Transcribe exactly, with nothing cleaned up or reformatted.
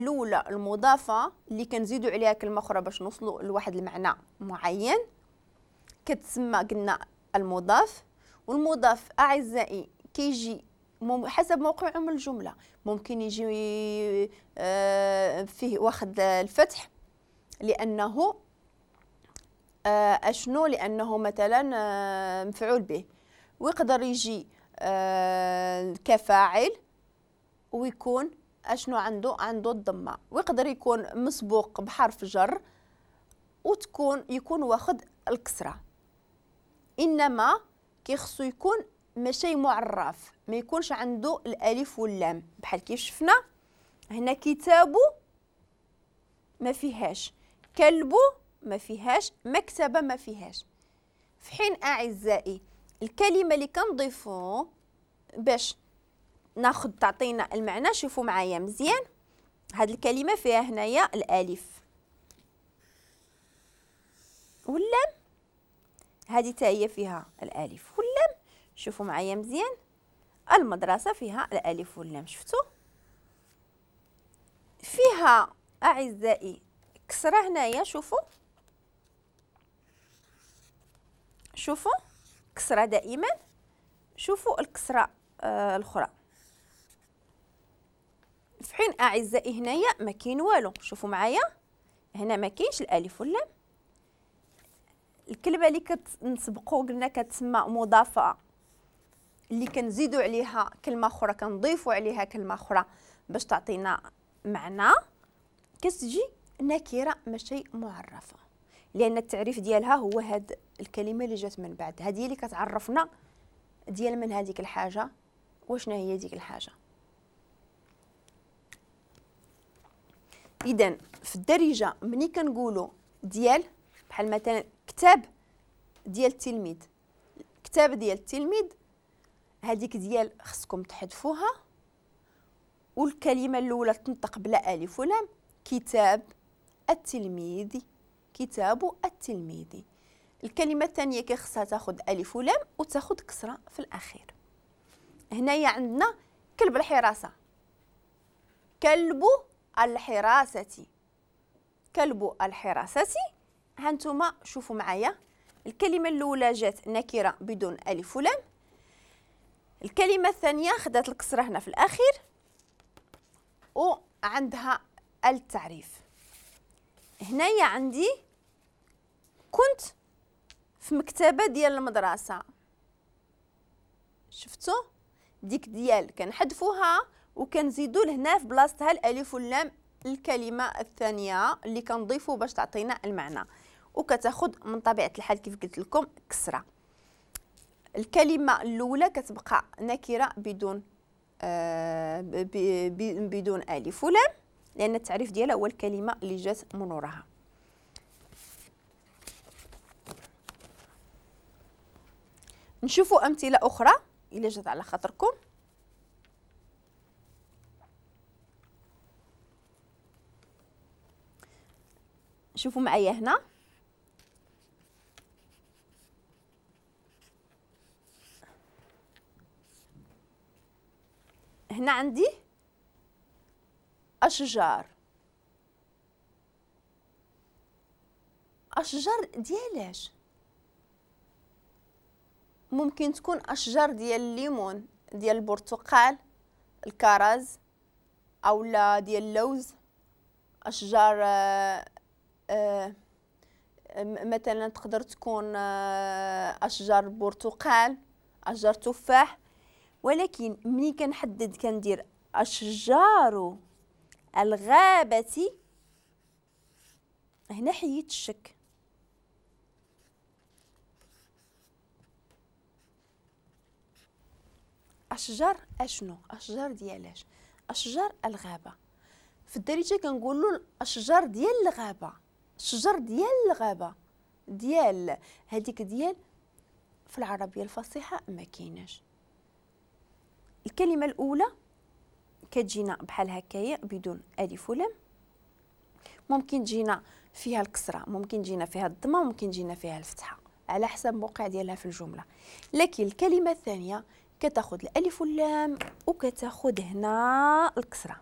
الاولى المضافة اللي كنزيدوا عليها كلمة اخرى باش نوصلوا لواحد المعنى معين كتسمى قلنا المضاف. والمضاف اعزائي كيجي حسب موقعه من الجملة، ممكن يجي فيه واخد الفتح لانه اشنو، لانه مثلا مفعول به، ويقدر يجي كفاعل ويكون اشنو عنده عنده الضمة، ويقدر يكون مسبوق بحرف جر وتكون يكون واخد الكسرة. انما كيخصو يكون ماشي معرف، ما يكونش عنده الالف واللام بحال كيف شفنا هنا. كتابو ما فيهاش، كلبو ما فيهاش، مكتبه ما فيهاش. في حين اعزائي الكلمة اللي كنضيفو باش ناخذ تعطينا المعنى، شوفوا معايا مزيان، هاد الكلمة فيها هنايا الالف واللام، هذه حتى هي فيها الالف واللام. شوفوا معايا مزيان، المدرسة فيها الالف واللام، شفتوا فيها اعزائي كسره هنايا، شوفوا شوفوا كسره دائما، شوفوا الكسرة آه الاخرى. في حين اعزائي هنايا ما كاين والو، شوفوا معايا هنا ما كاينش الالف واللام. الكلمة اللي كنسبقوا قلنا كتسمى مضافة، اللي كنزيدوا عليها كلمة اخرى، كنضيفوا عليها كلمة اخرى باش تعطينا معنى، كتجي نكره ماشي معرفة، لان التعريف ديالها هو هاد الكلمة اللي جات من بعد، هذه اللي كتعرفنا ديال من هذيك الحاجة وشنا هي ديك الحاجة. اذا في الدارجة ملي كنقولوا ديال، بحال مثلا كتاب ديال التلميذ، كتاب ديال التلميذ، هذيك ديال خصكم تحذفوها، والكلمة الاولى تنطق بلا الف ولام، كتاب التلميذ، كتاب التلميذ. الكلمة الثانية كيخصها تاخذ الف ولام وتاخذ كسره في الاخير. هنايا عندنا كلب الحراسة، كلب الحراسة، كلب الحراسة. هانتوما شوفوا معايا، الكلمة الاولى جات نكره بدون الف ولام، الكلمة الثانية خدات الكسرة هنا في الاخير وعندها التعريف. هنايا عندي كنت في مكتبه ديال المدرسة، شفتوا ديك ديال كنحذفوها وكنزيدوا لهنا في بلاصتها الالف واللام، الكلمة الثانية اللي كنضيفوا باش تعطينا المعنى، وكتاخذ من طبيعة الحال كيف قلت لكم كسره. الكلمة الاولى كتبقى نكره بدون آه بدون الف ولام، لان التعريف ديالها هو الكلمة اللي جات من وراها. نشوفوا امثلة اخرى الا جات على خاطركم. شوفوا معايا هنا، هنا عندي أشجار، أشجار ديالاش؟ ممكن تكون أشجار ديال الليمون، ديال البرتقال، الكرز، أو لا ديال اللوز، أشجار آه آه مثلا تقدر تكون آه أشجار برتقال، أشجار تفاح. ولكن ملي كنحدد كندير أشجار الغابة، هنا حيت الشك، أشجار أشنو؟ أشجار ديالاش؟ أشجار الغابة. في الدارجة كنقولوا الأشجار ديال الغابة، الشجر ديال الغابة، ديال هذيك ديال في العربية الفصيحة ما كايناش. الكلمة الأولى كتجينا بحال هكايا بدون ألف ولام، ممكن تجينا فيها الكسرة، ممكن تجينا فيها الضمة، ممكن تجينا فيها الفتحة على حسب الموقع ديالها في الجملة. لكن الكلمة الثانية كتاخذ الألف واللام وكتاخذ هنا الكسرة.